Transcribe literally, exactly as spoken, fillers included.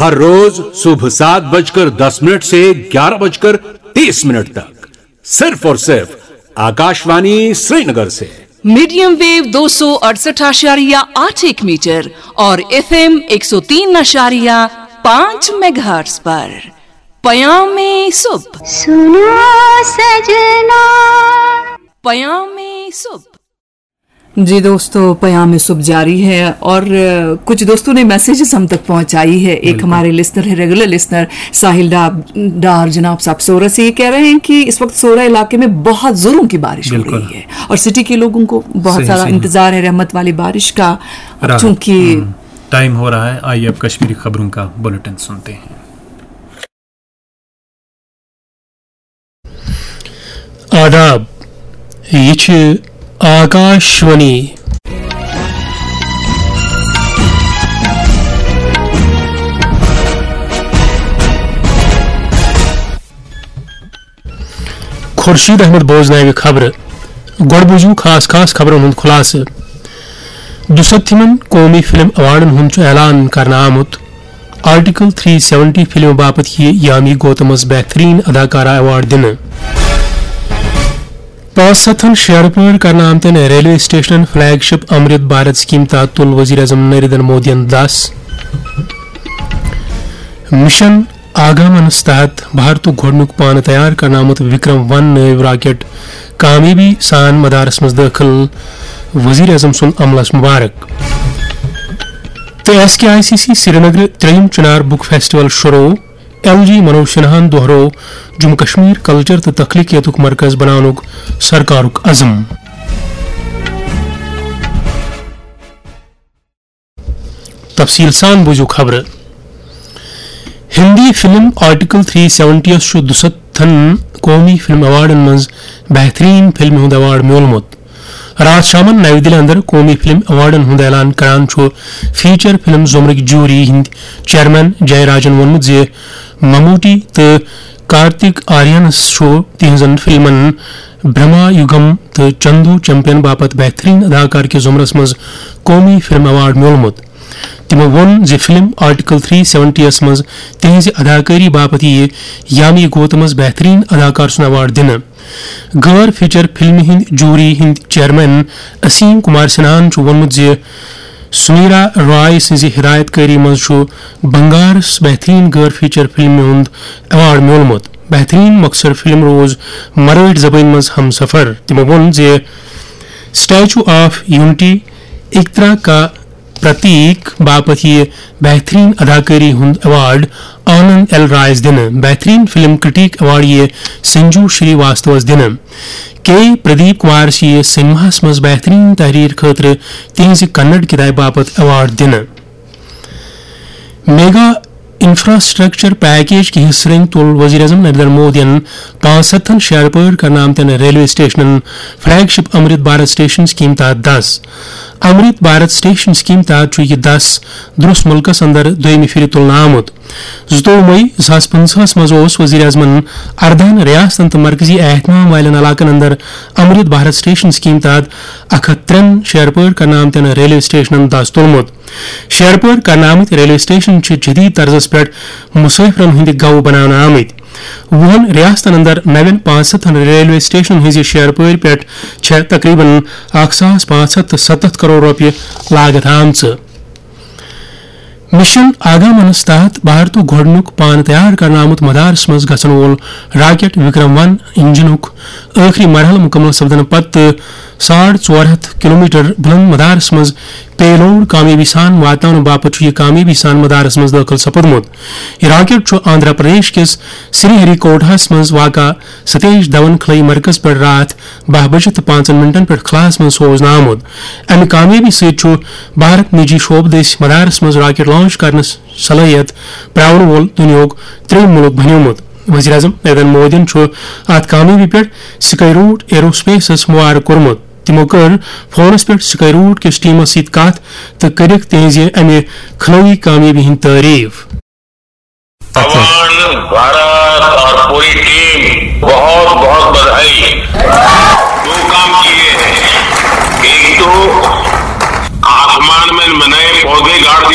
हर रोज सुबह सात बजकर दस मिनट से ग्यारह बजकर तीस मिनट तक, सिर्फ और सिर्फ आकाशवाणी श्रीनगर से। मीडियम वेव दो सौ अड़सठ आशारिया आठ एक मीटर और एफएम एक सौ तीन आशारिया पाँच मेगाहर्ट्ज पर पयाम सुब। सुनो सजना। पयाम सुब। जी दोस्तों, पयाम सुब जारी है और अ, कुछ दोस्तों ने मैसेजेस हम तक पहुंचाई है। एक बिल्कुल। हमारे लिसनर है, रेगुलर लिसनर साहिल डा-, डार जनाब साहब सोरा से ये कह रहे हैं कि इस वक्त सोरा इलाके में बहुत जोरों की बारिश हो बिल्कुल। रही है और सिटी के लोगों को बहुत सही, सारा सही। इंतजार है रहमत वाली बारिश का। अब राहत। चूंकि हम्म, टाइम हो रहा है, आइए अब कश्मीरी खबरों का बुलेटिन सुनते हैं। आदाब, ये छे आकाशवाणी। खुर्शीद अहमद बोजनावे खबर। गोड़ बुझू खास खास खबरन हुंद खुलासह। दुसत्थिमन कौमी फिल्म अवार्डन हुंद छु ऐलान करना आमुत। आर्टिकल थ्री सेवेंटी फिल्म बापत यी यामी गौतमस बेहतरीन अदाकारा अवार्ड दिन। पाँच सत्थन शेयर पर करना आमतन railway station flagship Amrit Bharat scheme तहत तुल वजीर आजम नरेंद्र मोदियन दस। मिशन आगामनस तहत भारतुक गोडनुक पान तैयार करनामुत विक्रम वन नैव राकेट कामयाबी सान मदारस मज दाखिल, वजीर आजम सुन अमलस मुबारक। तो S K I C C Srinagar त्रेयम चिनार बुक फेस्टिवल शुरू, एल जी मनोज सिन्हान दोहरो जम्मू कश्मीर कल्चर तो तख्लीकियतुक मरकज बनानुक सरकारुक अजम। तफसील सान बुझू खबर। Hindi film article three seventy yes छु दुसत्थन कौमी फिल्म अवार्डन मंज बेहतरीन फिल्म हुंद अवार्ड म्योलमुत। रात शामन नई दिल्ली अंदर कौमी फिल्म अवार्डन हुंद ऐलान करान छु फीचर फिल्म जुमरक जूरी हिंद चेयरमैन जयराजन वोनमुत जे ममूटी तो कार्तिक आर्यनस छु तिहंजन फिल्मन ब्रह्मा युगम तो चंदू चैंपियन बापत बेहतरीन अदाकार के जुमरस मज कौमी फिल्म अवार्ड म्योलमुत। तिमो वोन जे फिल्म आर्टिकल थ्री सेवेंटी यस मज तिहंज अदाकारी बापत ये यामी गोतमस बेहतरीन अदाकार सुन अवार्ड दिन। गैर फीचर फिल्म हिंद जूरी हिंद चेयरमैन असीम कुमार सिन्हान छु वोनमुत जे सुमीरा रॉय सिंज हिदायतकारी मज छु बंगारस बेहतरीन गैर फीचर फिल्म हुंद अवार्ड म्योलमुत। बेहतरीन मकसर फिल्म रोज मराठ जबान मज हमसफर। तिमो वोन जे स्टैचू ऑफ यूनिटी एकता का प्रतीक बापत ये बेहतरीन अदाकारी हुंद अवार्ड आनंद एल रायस दिन। बेहतरीन फिल्म क्रिटिक अवार्ड ये संजू श्रीवास्तवस दिन। के प्रदीप कुमार ये सिनेमास मज बेहतरीन तहरीर खतर तिहंज कन्नड़ किताब बापत अवार्ड दिन। मेगा इंफ्रास्ट्रक्चर पैकेज के हिस्से तुल वजीर आजम नरेंद्र मोदियन पाँच सत्थन शेयर पर करनामतन railway स्टेशनन flagship Amrit Bharat station scheme तहत दस। अमृत भारत स्टेशन स्कीम तहत छु यह दस दुरुस मुल्कस अंदर दोयमि फिर तुलना आमुत। जुतोव मई ज़ास पंजाहस मज ओस वजीर आजमन अरदान रियासतन तो मरकजी एहतमाम वालन इलाकन अंदर अमृत भारत स्टेशन स्कीम तहत अख हथ त्रेन शेयर पर करनामतन रेलवे स्टेशनन दस तुलमुत। शेयर पर करनामत रेलवे स्टेशन छु जदीद तर्जस पर मुसाफिरन हुंद गव बनाना आमुत। वुहन रियासतन अंदर नवन पाँच सत्थन रेलवे स्टेशन हंज शेयर पर पर छह तकरीबन अख सास पाँच सत्थ सत्तत करोड़ रुपये लागत आमच। मिशन आगामनस तहत भारतुक गोडनुक पान तैयार करना आमुत मदारस मज गसन वोल राकेट विक्रम वन इंजनुक आखिरी मरहल मुकम्मल सपदन पत्त साढ़ ژور ہتھ کلومیٹر بلند مدارس منٛز پے لوڈ کامیٲبی سان واتناونہٕ باپتھ چھُ یہِ کامیٲبی سان مدارس منٛز دٲخل سپُدمُت۔ یہِ راکٹ چھُ آندھرا پردیش کِس سری ہری کوٹاہس منٛز واقع ستیش دھون خلٲیی مرکز پٮ۪ٹھ راتھ باہ بجہِ تہٕ پانٛژن منٹن پٮ۪ٹھ خلاہس منٛز سوزنہٕ آمُت۔ امہِ کامیٲبی سۭتۍ چھُ بھارت نجی شعبہٕ دٔسۍ مدارس منٛز راکٹ لانچ کرنس صلٲحیت پراونہٕ وول دُنیاہُک ترٛیٚیِم مُلک بنیومُت۔ وزیر اعظم نریندر مودیَن چھُ اتھ کامیٲبی پٮ۪ٹھ سکائی روٹ ایرو سپیسس مبارک کوٚرمُت۔ تِمو کٔر فونس پٮ۪ٹھ سکائی روٹ کِس ٹیمس سۭتۍ کتھ تہٕ کٔرٕکھ تِہنٛزِ امہِ خلٲیی کامیٲبی ہٕنٛز تعریف۔ भगवान, भारत और पूरी टीम बहुत बहुत बधाई। दो काम किए हैं, एक तो आसमान में नए पौधे गाड़ दिए।